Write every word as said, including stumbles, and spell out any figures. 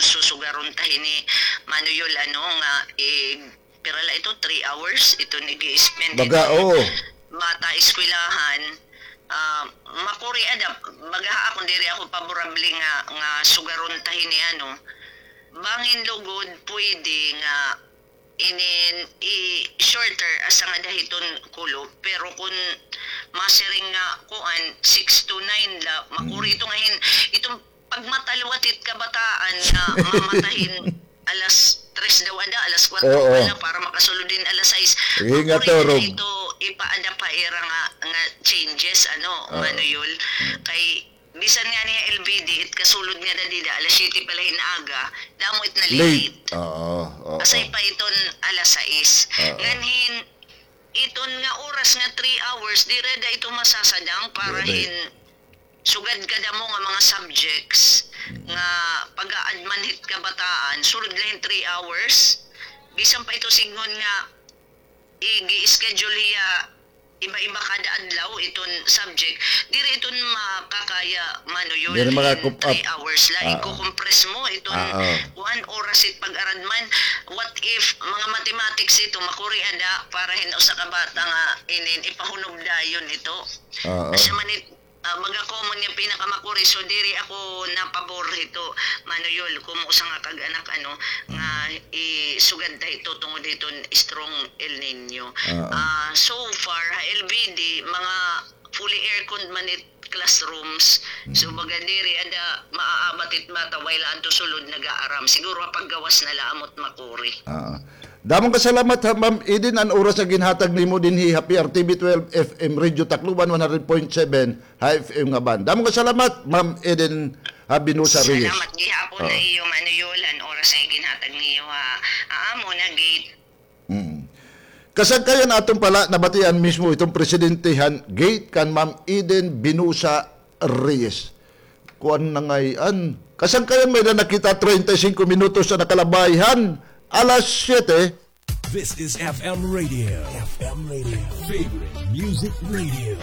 susugaron ta hini Mano Yul, ano, nga, eh, pira la ito, three hours, ito nag-i-spend Baga, hini oo. bata eskwelahan. Ah, makuri ada, baga ha akon diri ako paborable nga, nga sugaron ta hini, ano. Bangin lugod, pwede nga inin i-shorter asa nga dahiton kulob, pero kun masiring nga kuan, six to nine la, makuri Mm. ito nga hin-, itong pagmatalwat it kabataan nga mamata hin alas tres daw ada, alas kwatro Oo. pala para makasulod hin alas sais. Sige nga, makuri na Torog. Ito ipaada pa ira nga, nga changes, ano, Oo. Mano Yul. Mm. Kay bisan ngani ha L B D, it kasulod nga da dida, alas siyete pala hin aga, damo it na Late. late. Oo, oo. Asay pa iton alas sais. Oo. Nganhin, iton nga oras nga three hours, diri da ito masasadang para Diri. hin sugad kadamo nga mga subjects Mm. nga pag-aadman hit kabataan, sulod la hin three hours. Bisan pa ito sidngon nga igi-schedule hiya iba-iba kada adlaw iton subject. Diri iton makakaya, Mano Yul, Diri in makakup-, three hours la. Ah, ah. Iko-compress mo iton Ah, ah. kuan, oras it pag-aradman. What if mga mathematics ito, makuri ada para hin usa ka bata nga inin ipahunob dayon ito. Ah, ah. Asya man it, ah, baga common nga pinakamakuri. So, diri ako napabor hito, Mano Yul, kun usa nga kag-anak, ano, nga isugad ta hito tungod hiton strong El Niño. Ah, ah. Ah, so far, ha L B D, mga fully aircon man it classrooms. So, Mm. baga diri ada maaabat it bata, while adto sulod nag-aaram. Siguro ha paggawas na la amot makuri. Ah. Damong kasalamat ha, Ma'am Eden, an oras nga ginhatag nimo dinhi ha P R T V twelve F M Radio Tacloban, one hundred point seven ha F M nga band. Damong kasalamat, Ma'am Eden, ha, Binosa Reyes. Salamat gihapon na Oh. iyo, Mano Yul, an oras nga ginhatag niyo ha, ha amon nga gate. Mm. Kasangkayan aton pala nabatian mismo iton presidente han gate kan Ma'am Eden Binosa Reyes. Kuan na ngay-an. Kasangkayan may na nakita treinta y cinco minutos na nakalabay han alas siyete. This is F M Radio. F M Radio. Favorite Music Radio.